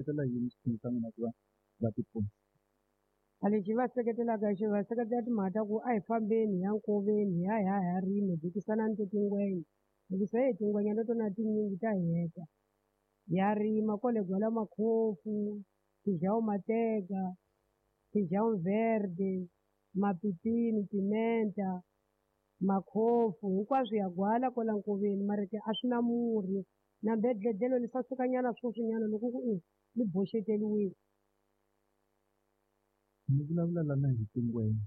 Seketela yini xiphemu xa n'wina ku va va tipfuna? A lexi hi va seketelaka hi xona, hi va seketela timhaka ta ku a hi fambeni hi ya nkoveni hi ya hi ya hi ya rima hi bukisanani to tingwenya hikusa heyi tingwenya na tona tinyingi ta hi heta. Hi ya rima kwale Gwala Makhofu, Feijão Matega, Feijão Verde, mapipini, timenta, makhofu hinkwaswo ya gwala kwala nkoveni mara ke a swi na murhi na mbedlhedlhelo li sasukanyana sweswinyana loko ku i li boxeteriwile. Mi vulavula lana hi tingwenya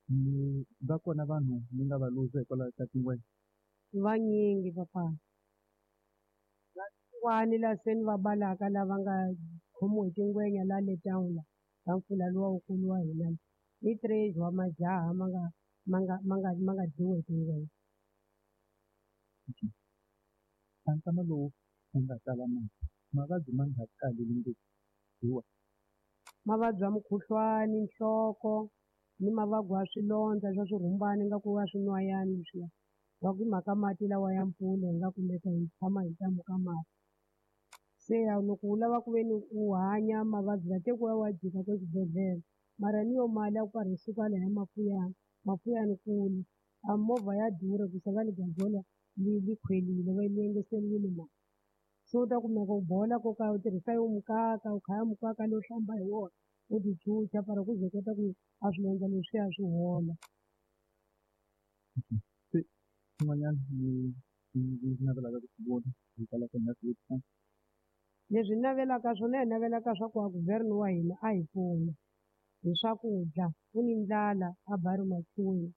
mi va kona vanhu mi nga va luza hikwalaho ka tingwenya? Vanyingi papa. Van'wani la se ni va balaka lava nga khomiwa hi tingwenya la le town la ka mpfula luwa wukulu wa hina i treasure wa majaha ma nga ma nga ma nga ma nga dyiwa hi tingwenya. A nkama lowu wu nga tala mati mavabyi ma nga taleli ngopfu hi wa. Mavabyi ya mukhuhlwani, nhloko ni mavabyi ya swilondza swa swirhumbani ingaku wa swinwayana leswiya va ku hi mhaka mati lawa ya mpfula hi nga kumeka hi tshama hi ntamu ka mati. Se loko u lava ku ve ni u hanya mavabyi la te ku ya wa jika ka xibedhlele mara ni yo mali ya ku karhi yi suka lahaya Mafuyana, Mafuyani kule a movha ya durha ku va le Gajola li li khwelile va yi engeteriwile mali se u ta kumeka u bola ko ka u tirhisa yo mukaka u khaya mukaka lowu hlamba hi wona u ti chucha para ku ze u kota ku a swilondza leswiya swi hola. Se swin'wanyana ni navelaka ku swi vona hikwalaho ka ni swi vutisa. Leswi hi navelaka swona hi navelaka swa ku a guvernor wa hina a hi pfuna hi swakudya ku ni ndlala a Barry Machuya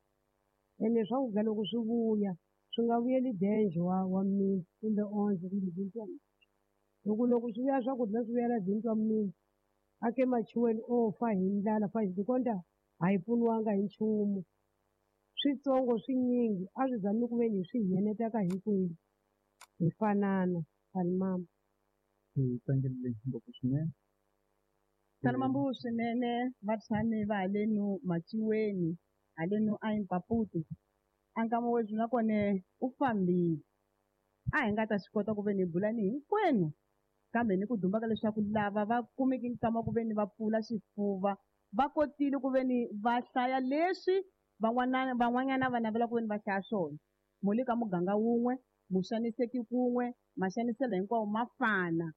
ene swakudya loko swi vuya swi nga vuyeli danger wa wa mimiti kumbe ondze kumbe Zintwa hi ku loko swi vuya swakudya swi vuyela Zintwa mimiti a ke Machuweni o fa hi ndlala fa hi konta a hi pfuniwanga hi nchumu switsongo swinyingi a swi zami ku ve ni swi hi enetaka hinkwenu hi fanana mama. Hi tlangerile ngopfu swinene. Salumambu swinene vatshami va halenu Machiweni halenu a Impaputi a nkama webyi nakone u fambile a hi nga ta swi kota ku ve ni hi bula ni hinkwenu kambe ni ku dumba ka leswaku lava va kumeke nkama ku ve ni va pfula xifuva va kotile ku ve ni va hlaya leswi van'wana van'wanyana va navela ku ve ni va hlaya swona mu le ka muganga wun'we mu xaniseki kun'we maxaniselo hinkwawo ma fana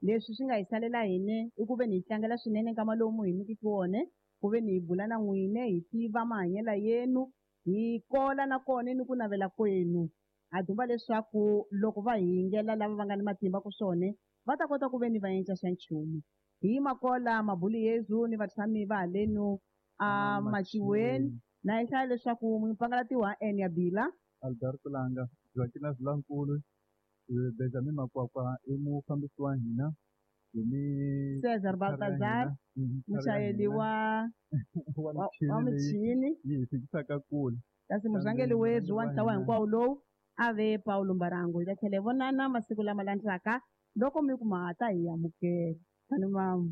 leswi swi nga hi salela hine i ku ve ni hi tlangela swinene nkama lowu mu hi nyikiki wona ku ve ni hi bula na n'wine hi tiva mahanyelo yenu hi kola nakona ni ku navela kwenu ha dumba leswaku loko va hi yingela lava va nga ni matimba ku swona va ta kota ku ve ni va endla xa nchumu hi makola mabulu yezu ni vatshami va halenu a Machiweni na hi hlaya leswaku mupangalatiwa n ya bila Alberto Langa, Joaquina Vilankulu, Benjamin Makwakwa i mufambisi wa hina hi ni Cesar Baltazar muchayeri wa wa wa michini leyi michini yi hi fikisaka kule. kasi murhangeri webyi wa ntlawa hinkwawo lowu a ve Paulo Mbarango hi ta tlhela hi vonana masiku lama landzelaka loko mi ku ma ta hi amukela tani mama.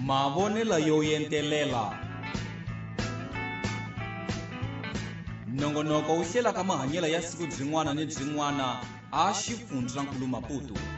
Mavonelo yo entelela nongonoko wu hlelaka mahanyelo ya siku byin'wana ni byin'wana a xifundzankulu Maputo.